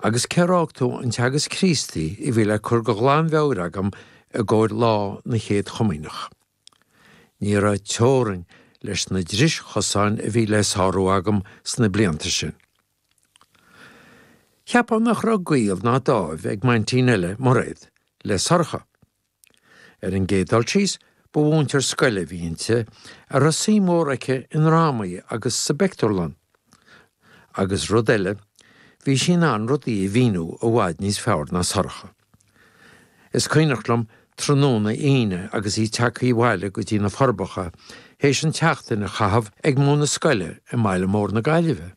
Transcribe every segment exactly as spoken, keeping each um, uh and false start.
Agus cér fhág tú an Teagasc Críostaí a bhí le cur de ghlanmheabhair agam i gcomhair lá na Chéad Chomaoineach. Ní raibh teorainn leis na dris-chosáin a bhí le sárú agam sna blianta sin. Cheapfá nach raibh gaol ná dáimh ag m'aintín eile, Mairéad, le Sorcha. Ar an gcéad dul síos, ba mhúinteoir scoile a bhí inti, a raibh suim mhór aici i ndrámaí agus sa bpictiúrlann. Agus rud eile, bhí sí in ann rudaí a mhíniú i bhfad níos fearr ná Sorcha. Is cuimhneach liom tráthnóna Aoine agus í tagtha abhaile go dtí na Forbacha théis an tseachtain a chaitheamh ag múineadh scoile i mbaile mór na Gaillimhe.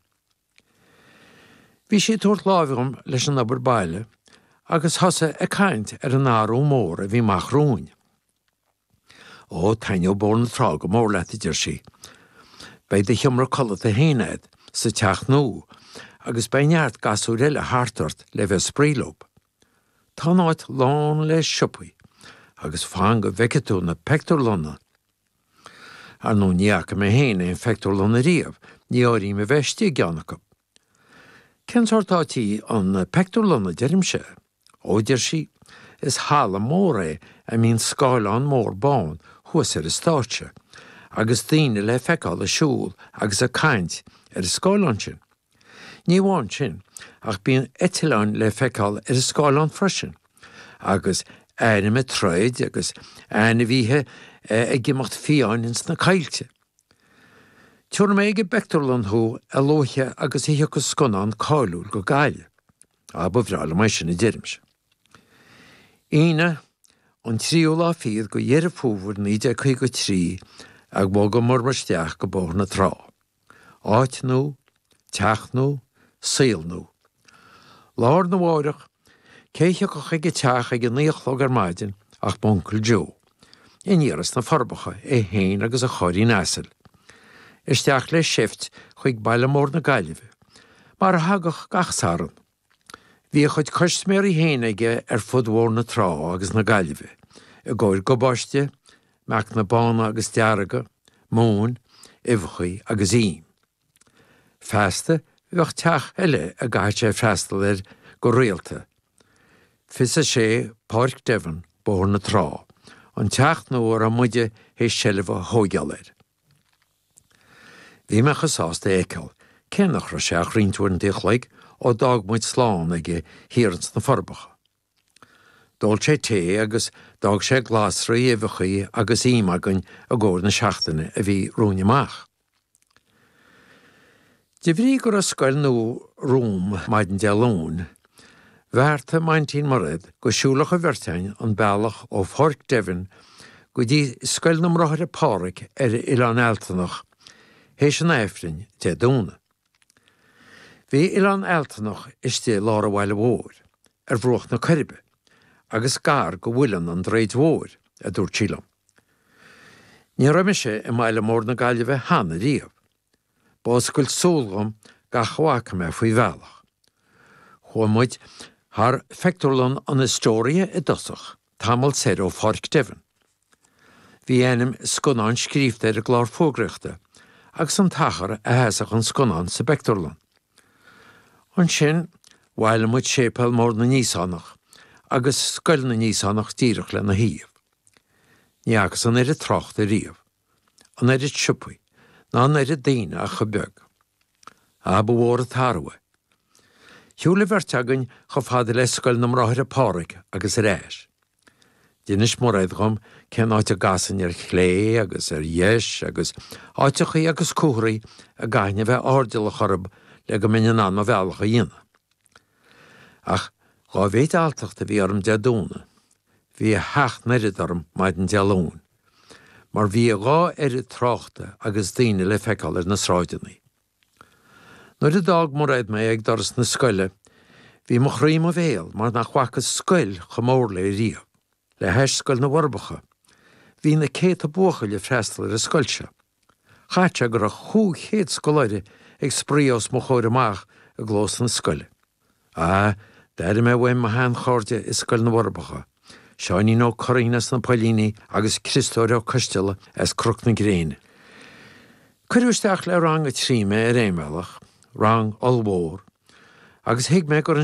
Bhí sí ag tabhairt láimhe dhom leis an obair baile agus thosaigh ag caint ar an athrú mór a bhí amach romhainn. Ó, taitneoidh Bóthar na Trá go mór leat, a deir sí. Beidh do sheomra codlata féin agat sa teach nua agus beidh neart gasúir eile thart ort le bheith ag spraoi leo. Tá an áit lán le siopaí agus fan go bhfeice tú na pictiúrlanna. Ar ndóigh ní fhaca mé féin aon phictiúrlann ariamh, ní áirím a bheith istigh i gceann acu. Cén sórt áit í an pictiúrlann, a deirimse? Ó, deir sí, is halla mór é a mbíonn scáileán mór bán thuas ar an stáitse, agus daoine le feiceáil ag siúl agus ag caint ar an scáileán sin. Ní amháin sin, ach bíonn eitleáin le feiceáil ar an scáileán freisin, agus airm ag troid agus ainmhithe ag imeacht fiáin ins na coillte. Tabharfaidh mé ag an bpictiúrlann thú a luaithe agus a thiocfas scannán cáiliúil go Gaillimh. Á, ba bhreá liom é sin, a deirimse. Aoine, an tríú lá fichead de Dheireadh Fómhair naoi déag caoga a trí a bhogamar isteach go Bóthar na Trá. Áit nua, teach nua, saol nua. Lá arna mháireach, cé a thiocfadh chuig an teach ag a naoi a chlog ar maidin ach m'uncail Joe, aniar as na Forbacha, é féin agus a chairrín asail. Isteach le seift chuig baile mór na Gaillimhe, mar a thagadh gach Satharn. Bhí a chuid custaiméirí féin aige ar fud Bhóthar na Trá agus na Gaillimhe, i gcomhair gabáiste, meacanna bána agus dearga, móin, uibheacha agus im. Feasta bheadh teach eile a gcaithfeadh sé freastal air go rialta, fiche a sé Páirc Devon, Bóthar na Trá, an teach nua a raibh muide théis seilbh a thóigeáil air. Bhí mé chomh sásta é a fheiceáil, cé nach raibh sé ach roinnt uaireanta an chloig ó d'fhág muid slán aige thiar ins na Forbacha. D'ól sé tae agus d'fhág sé glasraí, uibheachaí agus im againn i gcomhair na seachtaine a bhí romhainn amach. De bhrí go raibh scoil nua romham maidin Dé Luain, bheartaigh m'aintín Mairéad go siúlfadh an bheirt againn an bealach ó Pháirc Devon go dtí Scoil na mBráithre Páraic ar Oileán Ealtanach théis an Aifrinn Dé Domhnaigh. Bhí Oileán Ealtanach istigh i lár an bhaile mhóir, ar bhruach na Coiribe, agus gar go Mhuileann an Droichid Mhóir, a dúirt sí liom. Ní raibh mise i mbaile mór na Gaillimhe cheana riamh. Ba oscailt súl dhom gach a bhfaca mé faoi bhealach. Chuaigh muid thar phictiúrlann an Astoria i dtosach, tamall soir ó Pháirc Devon. Bhí ainm scannáin scríobhta ar an gclár fógraíochta agus an t-achar a sheasfadh an scannán sa bpictiúrlann. Ansin bhailigh muid séipéal mór na nÍosánach agus Scoil na nÍosánach díreach lena thaobh. Ní fhacas an oiread tráchta riamh, an oiread siopaí, ná an oiread daoine ach chomh beag. Á, ba mhór an t-athrú é. Shiúil an bheirt againn chomh fada le Scoil na mBráithre Páraic agus ar ais. D'inis Mairéad dhom cén áit a gcasfainn ar chlé agus ar dheis agus áiteachaí agus comharthaí a gcaithfinn a bheith airdeallach orthu le go mbeinn in ann mo bhealach a dhéanamh. Ach dhá mhéid alltacht a bhí orm Dé Domhnaigh, bhí a sheacht n-oiread orm maidin Dé Luain, mar bhí a dhá oiread tráchta agus daoine le feiceáil ar na sráideanna. Nuair a d'fhág Mairéad mé ag doras na scoile, bhí mo chroí i mo bhéal mar nach bhfacas scoil chomh mór léi riamh. Le hais Scoil na bhForbacha, bhí na céadta buachaill ag freastal ar an scoil seo. Chaithfeadh sé go raibh chúig chéad scoláire ag spraoi os mo chomhair amach i gclós na scoile. Ah, d'airigh mé uaim mo sheanchairde i Scoil na bhForbacha, Seáinín Ó Curraoin as na Poillíní agus Criostóir Ó Coisteala as Cnoc na Gréine. Cuireadh isteach le rang a trí mé ar aon bhealach, rang ollmhór, agus thuig mé gur